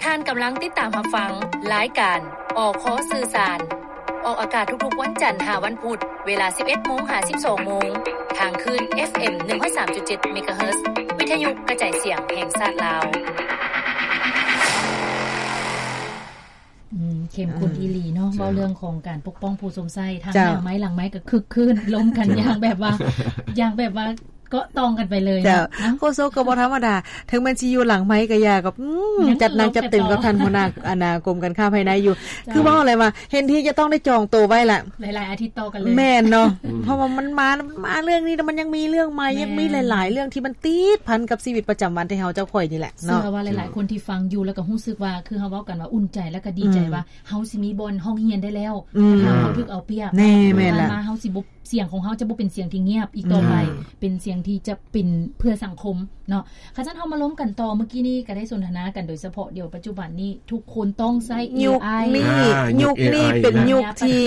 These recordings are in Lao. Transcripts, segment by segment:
ທ່ານກຳລັງຕິດຕາມຮັບຟັງລາຍການ ອຄ ສື່ສານ ອອກອາກາດທຸກໆວັນຈັນຫາວັນພຸດ ເວລາສິບເອັດໂມງຫາສິບສອງໂມງ ທາງຄື້ນ ເອັຟເອັມ ໜຶ່ງຮ້ອຍສາມຈຸດເຈັດ ເມກາເຮີດ ວິທະຍຸກະຈາຍສຽງແຫ່ງຊາດລາວ. ອືມ ເຂັ້ມຂຸ້ນອີ່ຫຼີເນາະ ເຈົ້າ ເວົ້າເລື່ອງຂອງການປົກປ້ອງຜູ້ຊົມໃຊ້ ທັງ ເຈົ້າ ໜ້າໄມ້ຫຼັງໄມ້ກໍຄຶກຄື້ນ ລົມກັນ ເຈົ້າ ຢ່າງແບບວ່າ ຢ່າງແບບວ່າເກາະຕ່ອງກັນໄປເລີຍເນາະ. ເຈົ້າ ເອົ້າ ໂຄສົກກໍບໍ່ທຳມະດາ ເຖິງແມ່ນຊິຢູ່ຫຼັງໄມ້ກໍຢ່າ ກໍ ອືມ ຈັດໜັກຈັດເຕັມກັບທ່ານຫົວໜ້າ ອັນນ່າ ກົມການຄ້າພາຍໃນຢູ່. ເຈົ້າ ຄືເວົ້າແຫຼະວ່າ ເຫັນທີຈະຕ້ອງໄດ້ຈອງໂຕໄວ້ລະ ຫຼາຍໆອາທິດຕໍ່ກັນເລີຍ. ແມ່ນເນາະ ອືມ ເພາະວ່າມັນມາ ມາເລື່ອງນີ້ ແລ້ວມັນຍັງມີເລື່ອງໃໝ່ ແມ່ນ ຍັງມີຫຼາຍໆເລື່ອງທີ່ມັນຕິດພັນກັບຊີວິດປະຈຳວັນທີ່ເຮົາເຈົ້າຂ້ອຍນີ້ແຫຼະເນາະ. ເຊື່ອວ່າຫຼາຍໆຄົນທີ່ຟັງຢູ່ ແລ້ວກໍຮູ້ສຶກວ່າ ຄືເຮົາເວົ້າກັນວ່າອຸ່ນໃຈ ແລ້ວກໍດີໃຈ ອືມ ວ່າ ເຮົາຊິມີບ່ອນຮ້ອງຮຽນໄດ້ແລ້ວ ອືມ ຖ້າເຮົາຖືກເອົາປຽບ. ແນ່ ແມ່ນລະ ຜ່ານມາເຮົາຊິບໍ່ ສຽງຂອງເຮົາຈະບໍ່ເປັນສຽງທີ່ງຽບອີກຕໍ່ໄປ ອືມ ເປັນສຽງທີ່ຈະເປັນເພື່ອສັງຄົມເນາະ. ຄັນຊັ້ນເຮົາມາລົມກັນຕໍ່ ມື້ກີ້ນີ້ກໍໄດ້ສົນທະນາກັນໂດຍສະເພາະ ດຽວປັດຈຸບັນນີ້ທຸກຄົນຕ້ອງໃຊ້ເອໄອ ຍຸກນີ້ ອ່າ ຍຸກນີ້ເປັນຍຸກທີ່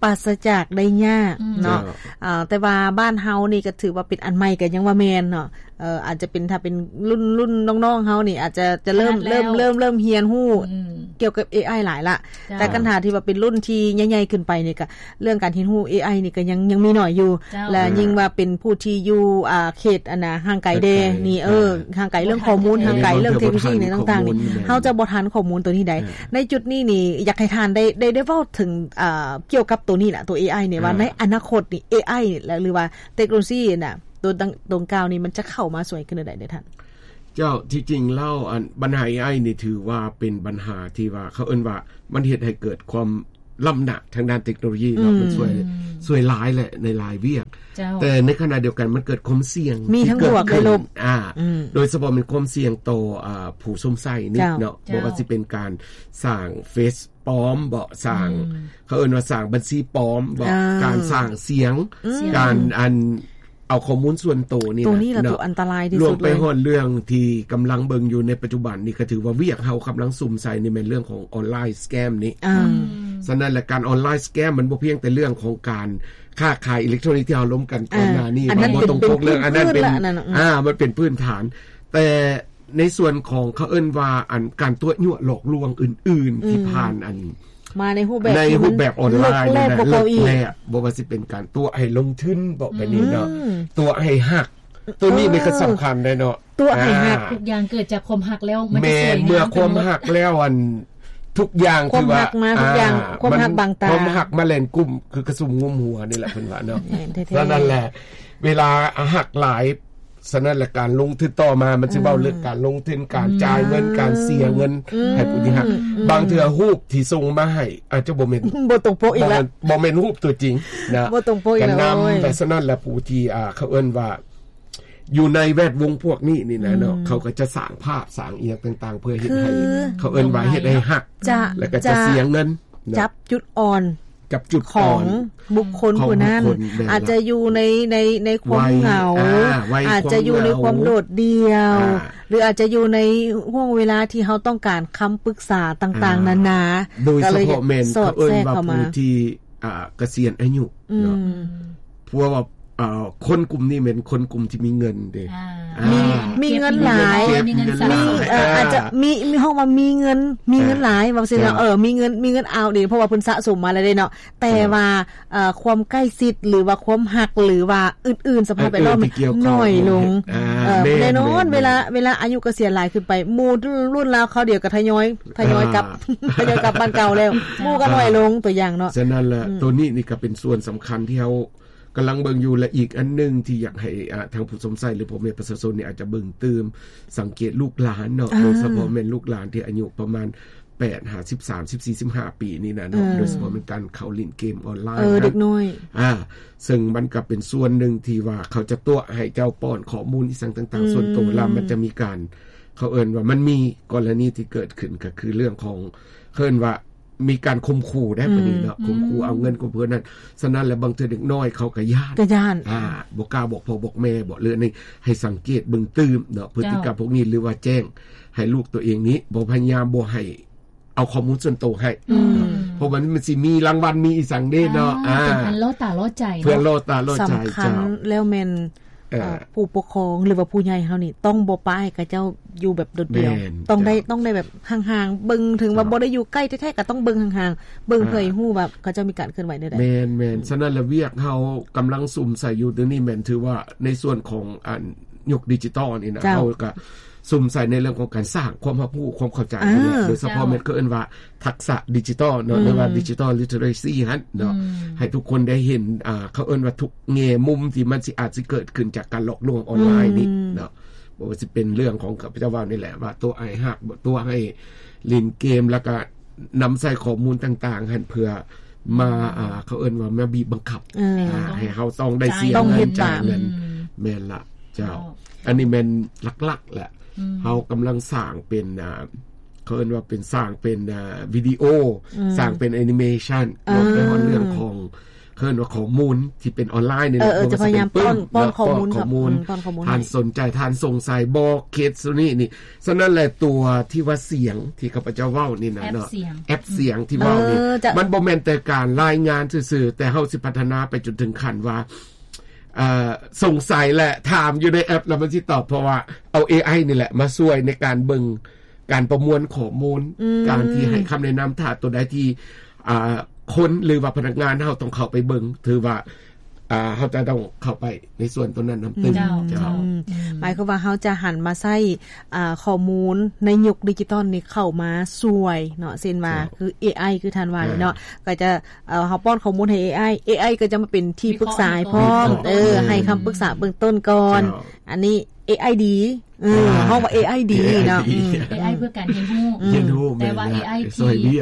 ປາສະຈາກໄດ້ຍາກເນາະ. ເຈົ້າ ອ່າ ແຕ່ວ່າບ້ານເຮົານີ້ກໍຖືວ່າເປັນອັນໃໝ່ກໍຍັງວ່າແມ່ນເນາະ. ເອີ ອາດຈະເປັນ ຖ້າເປັນລຸ້ນ ລຸ້ນນ້ອງໆເຮົານີ້ ອາດຈະ ຈະເລີ່ມ ເລີ່ມ ເລີ່ມ ເລີ່ມຮຽນຮູ້ ອືມ ກ່ຽວກັບເອໄອຫຼາຍລະ. ເຈົ້າ ແຕ່ຄັນຖ້າທີ່ວ່າເປັນລຸ້ນທີ່ໃຫຍ່ໆຂຶ້ນໄປນີ້ ກະເລື່ອງການຮຽນຮູ້ເອໄອນີ້ກະຍັງ ຍັງມີໜ້ອຍຢູ່. ເຈົ້າ ແລະ ເອີ ຍິ່ງວ່າເປັນຜູ້ທີ່ຢູ່ ອ່າ ເຂດ ອັນນ່າ ຫ່າງໄກແດ່ນີ້ ເອີ ອ່າ ຫ່າງໄກເລື່ອງຂໍ້ມູນ ຫ່າງໄກເລື່ອງເທັກໂນໂລຊີໃນຕ່າງໆນີ້ ເຮົາຈະບໍ່ທັນຂໍ້ມູນໂຕນີ້ໃດ. ເອີ ໃນຈຸດນີ້ນີ້ ຢາກໃຫ້ທ່ານໄດ້ ໄດ້ ໄດ້ເວົ້າເຖິງ ອ່າ ກ່ຽວກັບໂຕນີ້ລະ ໂຕເອໄອນີ້ ວ່າ ອ່າ ໃນອະນາຄົດນີ້ ເອໄອນີ້ລະ ຫຼືວ່າເທັກໂນໂລຊີນະ ໂຕ ຕົງກ່າວນີ້ ມັນຈະເຂົ້າມາຊ່ວຍຂຶ້ນແນວໃດເດີທ່ານ? ເຈົ້າ ທີ່ຈິງແລ້ວ ອັນ ບັນຫາເອໄອນີ້ຖືວ່າເປັນບັນຫາທີ່ວ່າ ເຂົາເອີ້ນວ່າມັນເຮັດໃຫ້ເກີດຄວາມລ້ຳໜ້າທາງດ້ານເທັກໂນໂລຢີເນາະ ອືມ ມັນຊ່ວຍ ອືມ ຊ່ວຍຫຼາຍແຫຼະໃນຫຼາຍວຽກ. ເຈົ້າ ແຕ່ໃນຂະນະດຽວກັນມັນເກີດຄວາມສ່ຽງ ມີທັງບວກແລະລົບ ອ່າ ອືມ ໂດຍສະເພາະແມ່ນຄວາມສ່ຽງຕໍ່ ອ່າ ຜູ້ຊົມໃຊ້ນີ້ເນາະ ເຈົ້າ ບໍ່ວ່າຊິເປັນການສ້າງເຟສປອມບໍ ສ້າງ ອືມ ເຂົາເອີ້ນວ່າສ້າງບັນຊີປອມບໍ ອ່າ ການສ້າງສຽງ ອືມ ການ ອັນ ເອົາຂໍ້ມູນສ່ວນໂຕນີ້ ໂຕນີ້ລະ ແຫຼະເນາະ ໂຕອັນຕະລາຍທີ່ສຸດເລີຍ. ລວມໄປຮອດເລື່ອງທີ່ກຳລັງເບິ່ງຢູ່ໃນປັດຈຸບັນນີ້ ກໍຖືວ່າວຽກເຮົາກຳລັງສຸມໃສ່ນີ້ແມ່ນເລື່ອງຂອງອອນລາຍສະແກມນີ້. ອ່າ ອືມ ສະນັ້ນລະ ການອອນລາຍສະແກມມັນບໍ່ພຽງແຕ່ເລື່ອງຂອງການຄ້າຂາຍອີເລັກໂທຣນິກທີ່ເຮົາລົມກັນກ່ອນໜ້ານີ້ ອ່າ ບໍ່ຕົງປົກເລື່ອງ ອັນນັ້ນເປັນ ອ່າ ມັນເປັນພື້ນຖານ ແຕ່ ໃນສ່ວນຂອງເຂົາເອີ້ນວ່າ ອັນ ການຕົວະຍົວະຫຼອກລວງອື່ນໆ ອືມ ທີ່ຜ່ານ ອັນ ມາໃນຮູບແບບ ໃນຮູບແບບອອນລາຍນີ້ນະ ເລິກແລ້ວ ບໍ່ວ່າຊິເປັນການຕົວະໃຫ້ລົງທຶນບໍ ແບບນີ້ເນາະ ອືມ ຕົວະໃຫ້ຮັກ ໂຕນີ້ ເອີ ນີ້ກໍສຳຄັນເດ້ເນາະ ຕົວະໃຫ້ຮັກ ອ່າ ທຸກຢ່າງເກີດຈາກຄວາມຮັກແລ້ວ ມັນຈະ ແມ່ນ ສວຍງາມ ເມື່ອຄວາມຮັກແລ້ວ ອັນ ທຸກຢ່າງ ຄືວ່າ ຄວາມຮັກມາ ທຸກຢ່າງ ອ່າ ຄວາມຮັກບັງຕາ ຄວາມຮັກມາແລ່ນກຸ້ມ ຄືກະສຸມງຸ້ມຫົວນີ້ແຫຼະ ເພິ່ນວ່າເນາະ. ແມ່ນແທ້ໆ ສະນັ້ນແຫຼະ ເວລາຮັກຫຼາຍ ສະນັ້ນແຫຼະ ການລົງທຶນຕໍ່ມາ ມັນຊິເວົ້າເລື່ອງການລົງທຶນ ອືມ ການຈ່າຍເງິນ ອືມ ການເສຍເງິນ ອືມ ໃຫ້ຜູ້ທີ່ຮັກ ອືມ ບາງເທື່ອຮູບທີ່ສົ່ງມາໃຫ້ ອາດຈະບໍ່ແມ່ນ ບໍ່ຕົງປົກອີກລະ ບໍ່ແມ່ນ ບໍ່ແມ່ນຮູບຕົວຈິງນະ ບໍ່ຕົງປົກອີກລະ ກະນຳ ໂອ້ຍ ແລະ ສະນັ້ນລະ ຜູ້ທີ່ ອ່າ ເຂົາເອີ້ນວ່າ ຢູ່ໃນແວດວົງພວກນີ້ນີ້ນະເນາະ ອືມ ເຂົາກໍຈະສ້າງພາບ ສ້າງອີ່ຫຍັງຕ່າງໆ ເພື່ອເຮັດໃຫ້ ຄື ເຂົາເອີ້ນວ່າເຮັດໃຫ້ຮັກ ຈະ ແລະ ກໍຈະ ຈະ ເສຍເງິນເນາະ ຈັບຈຸດອ່ອນ ຈັບຈຸດອ່ອນຂອງບຸກຄົນຜູ້ນັ້ນ ຂອງບຸກຄົນ ແມ່ນລະ ອາດຈະຢູ່ໃນ ໃນ ໃນຄວາມເຫງົາ ອາ ອາດຈະຢູ່ໃນຄວາມໂດດດ່ຽວ ອ່າ ຫຼືອາດຈະຢູ່ໃນຫ່ວງເວລາທີ່ເຮົາຕ້ອງການຄຳປຶກສາຕ່າງໆນານາ ໂດຍສະເພາະແມ່ນເຂົາເອີ້ນວ່າຜູ້ທີ່ ອ່າ ກະສຽນອາຍຸເນາະ ອືມ ເພາະວ່າ ອ່າ ຄົນກຸ່ມນີ້ແມ່ນຄົນກຸ່ມທີ່ມີເງິນເດ້ ອ່າ ອ່າ ມີ ມີເງິນຫຼາຍ ເກັບເງິນຫຼາຍ ມີ ເອີ ອ່າ ອາດຈະມີ ມີ ເຮົາວ່າມີເງິນ ມີເງິນຫຼາຍ ອ່າ ວ່າຊັ້ນເນາະ ເອີ ມີເງິນ ມີເງິນອາວເດ້ ເພາະວ່າເພິ່ນສະສົມມາແລ້ວເດ້ເນາະ ແຕ່ວ່າ ເອີ ຄວາມໃກ້ຊິດ ຫຼືວ່າຄວາມຮັກ ຫຼືວ່າອື່ນໆ ສະພາບແວດລ້ອມ ໜ້ອຍລົງ ອ່າ ເອີ ແນ່ນອນ ເວລາ ເວລາອາຍຸກະສຽນຫຼາຍຂຶ້ນໄປ ໝູ່ລຸ້ນລາວຄາວດຽວກໍທະຍອຍ ທະຍອຍກັບ ອ່າ ທະຍອຍກັບບ້ານເກົ່າແລ້ວ ໝູ່ກໍໜ້ອຍລົງ ຕົວຢ່າງເນາະ ສະນັ້ນລະ ອືມ ໂຕນີ້ນີ້ກໍເປັນສ່ວນສຳຄັນທີ່ເຮົາ ກຳລັງເບິ່ງຢູ່ ແລະ ອີກອັນໜຶ່ງທີ່ຢາກໃຫ້ ອ່າ ທາງຜູ້ຊົມໃຊ້ ຫຼື ພໍ່ແມ່ປະຊາຊົນນີ້ອາດຈະເບິ່ງຕື່ມ ສັງເກດລູກຫຼານເນາະ ອ່າ ໂດຍສະເພາະແມ່ນລູກຫຼານທີ່ອາຍຸປະມານແປດຫາສິບສາມ ສິບສີ່ ສິບຫ້າປີນີ້ນະເນາະ ອືມ ໂດຍສະເພາະແມ່ນການເຂົ້າຫຼິ້ນເກມອອນລາຍ ເອີ ເດັກນ້ອຍ ອ່າ ເຊິ່ງມັນກໍເປັນສ່ວນໜຶ່ງທີ່ວ່າເຂົາຈະຕົວະໃຫ້ເຈົ້າປ້ອນຂໍ້ມູນອີ່ສັງຕ່າງໆ ອືມ ສ່ວນໂຕ ລະມັນຈະມີການ ເຂົາເອີ້ນວ່າມັນມີກໍລະນີທີ່ເກີດຂຶ້ນ ກໍຄືເລື່ອງຂອງ ເອີ້ນວ່າ ມີການຂົ່ມຂູ່ໄດ໋ ອືມ ປະເດັນເນາະ ຂົ່ມຂູ່ເອົາເງິນຂອງເພິ່ນນັ້ນ ສະນັ້ນແຫຼະ ບາງເທື່ອເດັກນ້ອຍເຂົາກໍຢ້ານ ກໍຢ້ານ ອ່າ ບໍ່ກ້າບອກພໍ່ບອກແມ່ ບອກເລື່ອງນີ້ ໃຫ້ສັງເກດເບິ່ງຕື່ມເນາະ ພຶດຕິກຳພວກນີ້ ຫຼືວ່າແຈ້ງໃຫ້ລູກຕົວເອງນີ້ ບໍ່ພະຍາຍາມບໍ່ໃຫ້ເອົາຂໍ້ມູນສ່ວນໂຕໃຫ້ ອືມ ເພາະວ່າມັນຊິມີລາງວັນ ມີອີ່ສັງເດ້ເນາະ ອ່າ ອ່າ ເປັນອັນລໍຕາລໍໃຈເນາະ ເພື່ອລໍຕາລໍໃຈ ສຳຄັນ ເຈົ້າ ແລ້ວແມ່ນ ເອີ ເອີ ຜູ້ປົກຄອງ ຫຼືວ່າຜູ້ໃຫຍ່ເຮົານີ້ ຕ້ອງບໍ່ປະໃຫ້ເຂົາເຈົ້າຢູ່ແບບໂດດດ່ຽວ ແມ່ນ ຕ້ອງໄດ້ ເຈົ້າ ຕ້ອງໄດ້ແບບຫ່າງໆ ເບິ່ງ ເຖິງວ່າ ເຈົ້າ ບໍ່ໄດ້ຢູ່ໃກ້ແທ້ໆ ກໍຕ້ອງເບິ່ງຫ່າງໆ ເບິ່ງ ເອີ ເພື່ອໃຫ້ຮູ້ວ່າເຂົາເຈົ້າມີການເຄື່ອນໄຫວແນວໃດ. ແມ່ນໆ ອືມ ສະນັ້ນລະ ວຽກເຮົາກຳລັງສຸມໃສ່ຢູ່ ດຽວນີ້ແມ່ນຖືວ່າໃນສ່ວນຂອງ ອັນ ຍຸກດິຈິຕອນນີ້ນະ ເຈົ້າ ເຮົາກໍສຸມໃສ່ໃນເລື່ອງຂອງການສ້າງຄວາມຮັບຮູ້ ຄວາມເຂົ້າໃຈ ອ່າ ໂດຍສະເພາະ ເຈົ້າ ແມ່ນເຂົາເອີ້ນວ່າທັກສະດິຈິຕອນເນາະ ອືມ ຫຼືວ່າດິຈິຕອນລິເທີເຣຊີຫັ້ນເນາະ ອືມ ໃຫ້ທຸກຄົນໄດ້ເຫັນ ອ່າ ເຂົາເອີ້ນວ່າທຸກແງ່ມຸມທີ່ມັນຊິອາດຊິເກີດຂຶ້ນຈາກການຫຼອກລວງອອນລາຍນີ້ ອືມ ເນາະ ບໍ່ວ່າຊິເປັນເລື່ອງຂອງ ຂ້າພະເຈົ້າເວົ້ານີ້ແຫຼະ ວ່າຕົວະໃຫ້ຮັກ ຕົວະໃຫ້ຫຼິ້ນເກມ ແລ້ວກໍນຳໃຊ້ຂໍ້ມູນຕ່າງໆຫັ້ນ ເພື່ອມາ ອ່າ ເຂົາເອີ້ນວ່າມາບີບບັງຄັບ ເອີ ອ່າ ໃຫ້ເຮົາຕ້ອງໄດ້ເສຍເງິນ ຕ້ອງເຮັດຕາມ ຈ່າຍເງິນ ອືມ ແມ່ນລະ ເຈົ້າ ເຈົ້າ ອັນນີ້ແມ່ນຫຼັກໆແຫຼະ ອືມ ເຮົາກຳລັງສ້າງເປັນ ອ່າ ເຂົາເອີ້ນວ່າເປັນ ສ້າງເປັນ ອ່າ ວິດີໂອ ອືມ ສ້າງເປັນແອນິເມຊັນ ເອີ ລົງໄປຮອດເລື່ອງຂອງ ເອີ້ນວ່າຂໍ້ມູນທີ່ເປັນອອນລາຍນີ້ແຫຼະ ເອີ ເອີ ເຮົາຈະພະຍາຍາມປ້ອນ ປ້ອນຂໍ້ມູນ ເນາະ ປ້ອນຂໍ້ມູນ ອືມ ປ້ອນຂໍ້ມູນ ທ່ານສົນໃຈ ທ່ານສົງໄສບໍ ເຄສໂຊນີ້ນີ້ ສະນັ້ນແຫຼະ ຕົວທີ່ວ່າສຽງທີ່ຂ້າພະເຈົ້າເວົ້ານີ້ນະເນາະ ແອັບສຽງ ແອັບສຽງທີ່ເວົ້ານີ້ ເອີ ຈະ ມັນບໍ່ແມ່ນແຕ່ການລາຍງານຊື່ໆ ແຕ່ເຮົາຊິພັດທະນາໄປຈົນເຖິງຂັ້ນວ່າ ເອີ ສົງໄສ ແລະ ຖາມຢູ່ໃນແອັບ ແລ້ວມັນຊິຕອບ ເພາະວ່າເອົາເອໄອນີ້ແຫຼະມາຊ່ວຍໃນການເບິ່ງ ການປະມວນຂໍ້ມູນ ອືມ ການທີ່ໃຫ້ຄຳແນະນຳ ຖ້າຕົວໃດທີ່ ອ່າ ຄົນ ຫຼືວ່າພະນັກງານເຮົາຕ້ອງເຂົ້າໄປເບິ່ງ ຖືວ່າ ອ່າ ເຮົາຈະຕ້ອງເຂົ້າໄປໃນສ່ວນຕົວນັ້ນນຳຕື່ມ ເຈົ້າ ເຈົ້າ ອືມ ໝາຍຄວາມວ່າເຮົາຈະຫັນມາໃຊ້ ອ່າ ຂໍ້ມູນໃນຍຸກດິຈິຕອນນີ້ເຂົ້າມາຊ່ວຍເນາະ ເຊັ່ນວ່າ ເຈົ້າ ຄືເອໄອ ຄືທ່ານວ່ານີ້ເນາະ ອ່າ ກໍຈະ ເອີ ເຮົາປ້ອນຂໍ້ມູນໃຫ້ເອໄອ ເອໄອ ກໍຈະມາເປັນທີ່ປຶກສາໃຫ້ພ້ອມ ວິເຄາະ ເອີ ເອີ ໃຫ້ຄຳປຶກສາເບື້ອງຕົ້ນກ່ອນ ເຈົ້າ ອັນນີ້ ເອໄອ ດີ ເອີ ອ່າ ເຮົາວ່າ ເອໄອ ດີເນາະ ເອໄອ ດີ ອືມ ເອໄອ ເພື່ອການຮຽນຮູ້ ຮຽນຮູ້ ແມ່ນ ແຕ່ວ່າ ເອໄອ ທີ່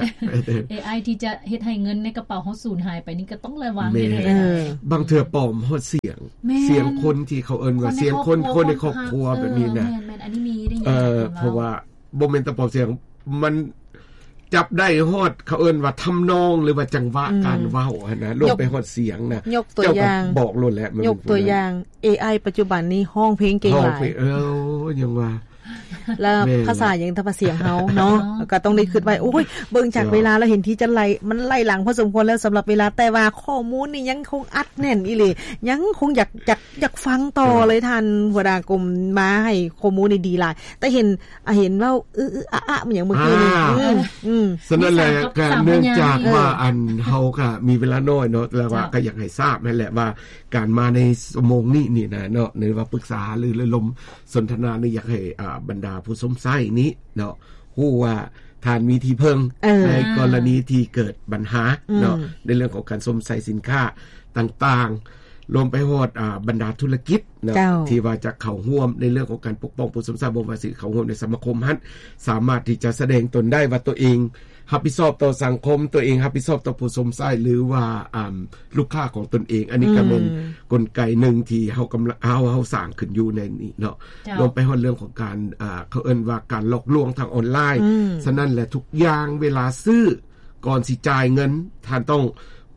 ເອໄອ ທີ່ຈະເຮັດໃຫ້ເງິນໃນກະເປົາເຮົາສູນຫາຍໄປນີ້ກໍຕ້ອງລະວັງ ແມ່ນ ເດ້ ເອີ ບາງເທື່ອປອມຮອດສຽງ ແມ່ນ ສຽງຄົນທີ່ເຂົາເອີ້ນວ່າ ສຽງຄົນ ຄົນໃນຄອບຄົວ ຄົນໃນຄອບຄົວ ເອີ ແບບນີ້ນະ ແມ່ນໆ ອັນນີ້ມີໄດ້ຍິນ ເອີ ເພິ່ນເວົ້າ ເພາະວ່າບໍ່ແມ່ນແຕ່ປອມສຽງ ມັນຈັບໄດ້ຮອດ ເຂົາເອີ້ນວ່າທຳນອງ ຫຼືວ່າຈັງຫວະ ອືມ ການເວົ້າຫັ້ນນະ ລວມໄປຮອດສຽງນະ ຍົກຕົວຢ່າງ ເຈົ້າກໍບອກໂລດແຫຼະ ຍົກຕົວຢ່າງ ເອໄອ ປັດຈຸບັນນີ້ຮ້ອງເພງເກັ່ງຫຼາຍ ເອີ ຍັງວ່າ ແລ້ວ ແມ່ນ ພາສາຫຍັງ ທຳພາສຽງເຮົາເນາະ ກໍຕ້ອງໄດ້ຄິດໄວ້ ໂອ້ຍ ເບິ່ງຈາກເວລາແລ້ວ ເຫັນທີ່ຈະໄລ່ ມັນໄລ່ຫຼັງພໍສົມຄວນແລ້ວ ສຳລັບເວລາ ແຕ່ວ່າຂໍ້ມູນນີ້ຍັງຄົງອັດແໜ້ນອີ່ຫຼີ ຍັງຄົງຢາກ ຢາກ ຢາກຟັງຕໍ່ເລີຍ ທ່ານຫົວໜ້າກົມ ມາໃຫ້ຂໍ້ມູນນີ້ດີຫຼາຍ ແຕ່ເຫັນ ອ່າ ເຫັນເວົ້າ ອືໆ ອະໆ ມັນຫຍັງເມື່ອກີ້ນີ້ ອ່າ ອືມ ອືມ ສະນັ້ນແຫຼະ ກະເນື່ອງຈາກວ່າ ເອີ ອັນ ເຮົາກະມີເວລາໜ້ອຍເນາະ ແຕ່ວ່າ ເຈົ້າ ກະຢາກໃຫ້ຊາບຫັ້ນແຫຼະວ່າ ການມາໃນຊົ່ວໂມງນີ້ນີ້ນະເນາະ ຫຼືວ່າປຶກສາ ຫຼື ລະລົມສົນທະນານີ້ ຢາກໃຫ້ ອ່າ ບັນດາຜູ້ຊົມໃຊ້ນີ້ເນາະ ຮູ້ວ່າທ່ານມີທີ່ເພິ່ງ ເອີ ໃນກໍລະນີທີ່ເກີດບັນຫາເນາະ ອືມ ໃນເລື່ອງຂອງການຊົມໃຊ້ສິນຄ້າຕ່າງໆ ລວມໄປຮອດ ອ່າ ບັນດາທຸລະກິດເນາະ ເຈົ້າ ທີ່ວ່າຈະເຂົ້າຮ່ວມໃນເລື່ອງຂອງການປົກປ້ອງຜູ້ຊົມໃຊ້ ບໍ່ວ່າຊິເຂົ້າຮ່ວມໃນສະມາຄົມຫັ້ນ ສາມາດທີ່ຈະສະແດງຕົນໄດ້ວ່າຕົວເອງຮັບຜິດຊອບຕໍ່ສັງຄົມ ຕົວເອງຮັບຜິດຊອບຕໍ່ຜູ້ຊົມໃຊ້ ຫຼືວ່າ ອ່າ ລູກຄ້າຂອງຕົນເອງ ອັນນີ້ກໍແມ່ນ ອືມ ກົນໄກໜຶ່ງທີ່ເຮົາກຳລັງ ເຮົາ ເຮົາສ້າງຂຶ້ນຢູ່ໃນນີ້ເນາະ ເຈົ້າ ລວມໄປຮອດເລື່ອງຂອງການ ອ່າ ເຂົາເອີ້ນວ່າການຫຼອກລວງທາງອອນລາຍ ອືມ ສະນັ້ນແຫຼະ ທຸກຢ່າງເວລາຊື້ ກ່ອນຊິຈ່າຍເງິນ ທ່ານຕ້ອງ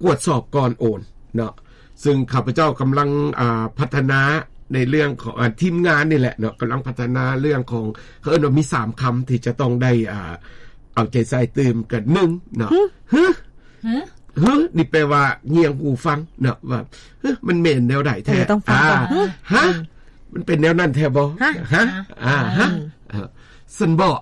ກວດສອບກ່ອນໂອນເນາະ ຊຶ່ງຂ້າພະເຈົ້າກຳລັງ ອ່າ ພັດທະນາໃນເລື່ອງຂອງ ອ່າ ທີມງານນີ້ແຫຼະເນາະ ກຳລັງພັດທະນາເລື່ອງຂອງ ເຂົາເອີ້ນວ່າມີສາມຄຳທີ່ຈະຕ້ອງໄດ້ ອ່າ ເອົາໃຈໃສ່ຕື່ມກັນ ໜຶ່ງເນາະ ຫຶ ຫຶ ຫຶ ຫຶ ນີ້ແປວ່າງຽງຫູຟັງເນາະ ວ່າ ຫຶ ມັນແມ່ນແນວໃດແທ້ ເອີ ຕ້ອງຟັງກ່ອນ ອ່າ ຫະ ມັນເປັນແນວນັ້ນແທ້ບໍ່ ຫະ ຫະ ອ່າ ຫະ ອືມ ເອີ ຊັ້ນບໍ ອ່າ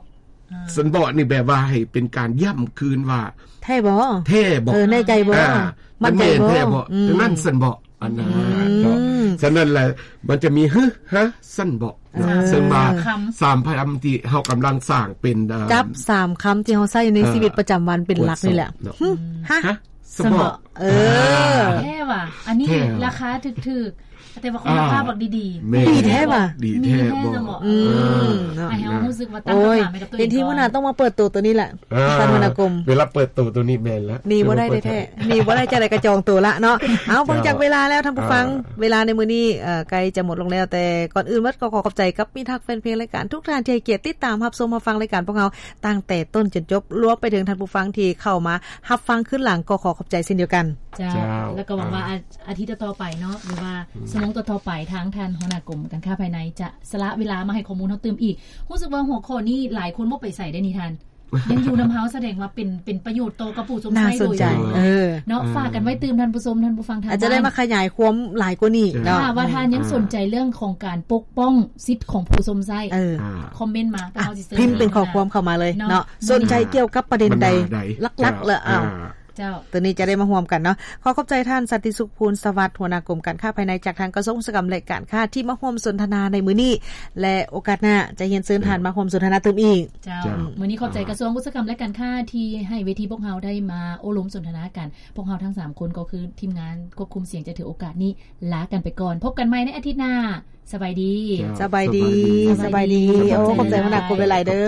ຊັ້ນບໍນີ້ແບບວ່າໃຫ້ເປັນການຢ້ຳຄືນວ່າ ແທ້ບໍ່ ແທ້ບໍ່ ເອີ ແນ່ໃຈບໍ່ ອ່າ ໝັ້ນໃຈບໍ່ ແທ້ບໍ່ ອືມ ນັ້ນຊັ້ນບໍ ອັນນັ້ນ ອືມ ເນາະ ສະນັ້ນແຫຼະ ມັນຈະມີ ຫຶ ຫະ ຊັ້ນບໍ ເອີ ເຊິ່ງວ່າ ສາມຄຳ ສາມຄຳທີ່ເຮົາກຳລັງສ້າງເປັນ ເອີ ຈັບສາມຄຳທີ່ເຮົາໃຊ້ໃນ ເອີ ຊີວິດປະຈຳວັນເປັນຫຼັກນີ້ແຫຼະ ກວດສອບເນາະ ຫຶ ຫະ ຫະ ຊັ້ນບໍ ຊັ້ນບໍ ເອີ ອ່າ ແທ້ວ່ະ ອັນນີ້ ແທ້ ລາຄາຖືກໆ ແຕ່ວ່າຄຸນນະພາບ ອ່າ ບັກດີໆ ແມ່ນ ດີແທ້ຫວາ ດີແທ້ບໍ່ ມີແທ້ບໍ່ ອືມ ເອີ ເນາະ ໃຫ້ເຮົາຮູ້ສຶກວ່າຕັ້ງ ໂອ້ຍ ຄຳຖາມໃຫ້ກັບຕົວເອງ ເປັນທີ່ ກ່ອນ ຫົວໜ້າຕ້ອງມາເປີດໂຕໂຕນີ້ແຫຼະ ອ່າ ທ່ານຫົວໜ້າກົມ ເວລາເປີດໂຕໂຕນີ້ແມ່ນລະ ໜີບໍ່ໄດ້ແທ້ໆ ໜີບໍ່ໄດ້ ຈັ່ງໃດກໍຈອງໂຕລະເນາະ ເອົາ ເຈົ້າ ເບິ່ງຈາກເວລາແລ້ວ ທ່ານຜູ້ຟັງ ອ່າ ເວລາໃນມື້ນີ້ ເອີ ໃກ້ຈະໝົດລົງແລ້ວ ແຕ່ກ່ອນອື່ນໝົດກໍຂໍຂອບໃຈກັບມິດຮັກແຟນເພງລາຍການທຸກທ່ານທີ່ໃຫ້ກຽດຕິດຕາມຮັບຊົມຮັບຟັງລາຍການພວກເຮົາຕັ້ງແຕ່ຕົ້ນຈົນຈົບ ລວມໄປເຖິງທ່ານຜູ້ຟັງທີ່ເຂົ້າມາຮັບຟັງຄືນຫຼັງ ກໍຂໍຂອບໃຈເຊັ່ນດຽວກັນ ເຈົ້າ ເຈົ້າ ແລ້ວກໍຫວັງວ່າ ອ່າ ອາ ອາທິດຕໍ່ໆໄປເນາະ ຫຼືວ່າ ອືມ ຊົ່ວໂມງຕໍ່ໆໄປ ທາງທ່ານຫົວໜ້າກົມການຄ້າພາຍໃນຈະສະຫຼະເວລາມາໃຫ້ຂໍ້ມູນເຮົາຕື່ມອີກ. ຮູ້ສຶກວ່າຫົວຂໍ້ນີ້ຫຼາຍຄົນບໍ່ໄປໃສເດ້ນີ້ທ່ານ. ຍັງຢູ່ນຳເຮົາ ສະແດງວ່າເປັນ ເປັນປະໂຫຍດຕໍ່ກັບຜູ້ຊົມໃຊ້ໂດຍຕຣົງເນາະ. ຝາກກັນໄວ້ຕື່ມທ່ານຜູ້ຊົມ ທ່ານຜູ້ຟັງທາງບ້ານ ອາດຈະໄດ້ມາຂະຫຍາຍຄວາມຫຼາຍກວ່ານີ້ເນາະ ຖ້າວ່າທ່ານຍັງສົນໃຈເລື່ອງຂອງການປົກປ້ອງສິດຂອງຜູ້ຊົມໃຊ້ ຄອມເມັນມາ ພວກເຮົາຊິເຊີນ ພິມເປັນຂໍ້ຄວາມເຂົ້າມາເລີຍເນາະ ສົນໃຈກ່ຽວກັບປະເດັນໃດຫຼັກໆ ແລ້ວ ເຈົ້າ ໂຕນີ້ຈະໄດ້ມາຮ່ວມກັນເນາະ. ຂໍຂອບໃຈທ່ານ ສັນຕິສຸກ ພູນສະຫວັດ ຫົວໜ້າກົມການຄ້າພາຍໃນຈາກທາງກະຊວງອຸດສາຫະກຳ ແລະ ການຄ້າ ທີ່ມາຮ່ວມສົນທະນາໃນມື້ນີ້ ແລະ ໂອກາດໜ້າຈະຮຽນເຊີນທ່ານມາຮ່ວມສົນທະນາຕື່ມອີກ. ເຈົ້າ ມື້ນີ້ຂອບໃຈກະຊວງອຸດສາຫະກຳ ແລະ ການຄ້າ ທີ່ໃຫ້ເວທີພວກເຮົາໄດ້ມາໂອ້ລົມສົນທະນາກັນ. ພວກເຮົາທັງສາມຄົນກໍຄືທີມງານຄວບຄຸມສຽງຈະຖືໂອກາດນີ້ລາກັນໄປກ່ອນ. ພົບກັນໃໝ່ໃນອາທິດໜ້າ. ສະບາຍດີ. ສະບາຍດີ. ສະບາຍດີ. ໂອ້ ຂອບໃຈຫົວໜ້າກົມຫຼາຍໆເດີ.